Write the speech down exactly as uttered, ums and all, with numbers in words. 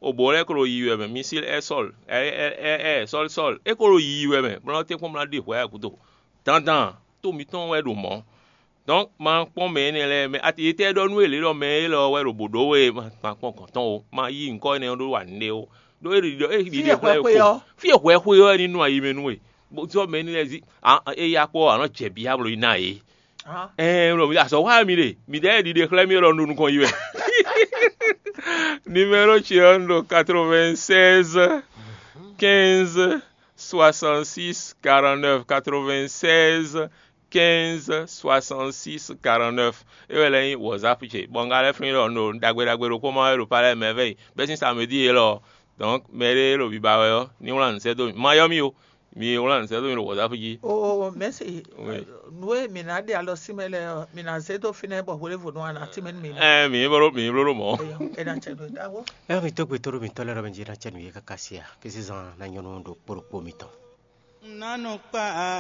Obo lɛ́ɛ ko ɖo yiyi wɛ mɛ, misíl ɛ sɔ́l ɛ ɛ ɛ ɛ sɔ́l sɔ́l é ko ɖo yiyi wɛ mɛ, bó nɔ́ tɛ́nkpɔ́n bó ná ɖe hwɛ̌ gúdo. Dandan, to mǐtɔn wɛ ɖo mɔ̌. Donc ma kpɔ́n mɛ énɛ́ lɛ́ɛ mɛ, ati yětɛ́ ɖɔ nú yě lě ɖɔ mɛ élɔ́ wɛ ɖo bǒ ɖó we, ma kpɔ́n gɔ̌n tɔn o, ma yí nyǐkɔ énɛ́ ɖó wa nǔɖé o. Ɖó é ɖiɖɔ é ɖiɖe xlɛ́ xo, fí e hwɛ xwe ɔ́ ní nu ayi mɛ nú we. Bó sɔ́ mɛ énɛ́ lɛ́ɛ zí, é yá kpɔ́ ɔ́, a nɔ jɛ bǐ ablo yi ná yě. Ɛɛ ɖo mi azɔ̌ wa mi ɖe, mi ɖɛɛ ɖiɖe xlɛ́ mi ɖɔ un ɖo nukɔn yi wɛ. Numéro ce ɔ́ un ɖo quatre-vingt-seize quinze soixante-six quarante-neuf, quatre-vingt-seize quinze soixante-six quarante-neuf. É wɛ lɛ́ nyí WhatsApp ce, bɔ un ka lɛ́ flín ɖɔ un ɖo ɖagbe ɖagbe ɖokpó ma wɛ ɖo palɛ mɛ vɛ yi bɛ́ sín samedi élɔ́. Donc mɛ ɖé ɖo biba wɛ ɔ́, ní wlán nǔ sɛ́ dó mì. Ma yɔ mì o, mi wlán nǔ sɛ́ dó mì ɖo WhatsApp jí. Oo, mɛ̌si, Oui. Nǔ e mǐ ná ɖe alɔ sí mɛ lɛ́ɛ ɔ́, mǐ ná zé dó fínɛ́ bɔ hwelěvo nɔ a nǎ tín mɛ nú mi. Ɛ mǐ bló mǐ bló ɖo mɔ̌. Eyɔ, é ná cɛ nú we ɖaxó. Ɛ mi tó gbe tó ɖo mitɔ́ lɛ́ɛ ɖɔ mɛ jí ná cɛ nǔ yě káká sí a, késí zan ná nyɔ́ nú ɖokpó ɖokpó mitɔn. Ná nɔ kpa